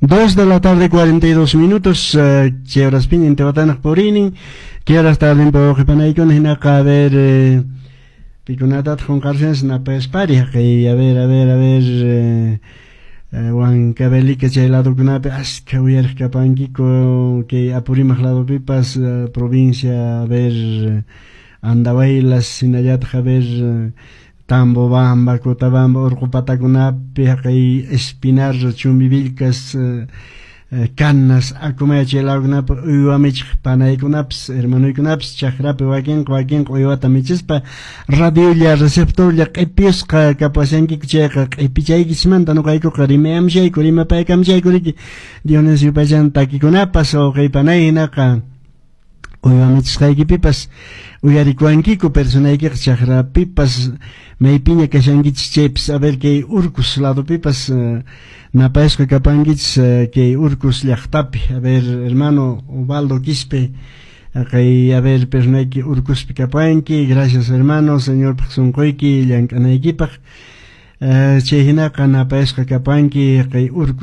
2 de la tarde, 42 minutos, chay horaspiña Intihuatanaq puriynin, kay horas tardinpi wawqi panaykuna hinaqa, a ver, pikunatataq qunqarushanchis napayspari haqay, a ver, a ver, a ver, Huancavelica chay ladokunapi askha uyariq kapankiku, kay Apurímac ladopipas, provincia, a ver, Andahuaylas, hinallataq, a ver, Tambobamba, Cotabamba urqu patakunapi, haqay Espinar, Chumbivilcas, Canas, Acomayo chay ladokunapi uywa michiq panaykunapas, hermanuykunapas chakrapi wakinqa uywata michispa radiolla receptorlla q'ipiyusqa kapashankiku chayqa q'ipichaykichismanta nuqaykuqa rimayamshayku rimapaykamshayku riki Dionisio Paychan takikunapas wawqi panay hinaqa uywa michisqaykipipas uyarikuwankiku personaykiqa chakrapipas maypiña kashankichis chaypis, a ver, kay Urcos ladopipas napayasqa kapankichis kay Urcos llaqtapi, a ver, hermano Ubaldo Quispe, kay, a ver, personayki Urcospi kapanki, gracias, hermano, Señorpaq sunquyki llank'anaykipaq, chay hinaqa napayasqa kapanki kay Urcos.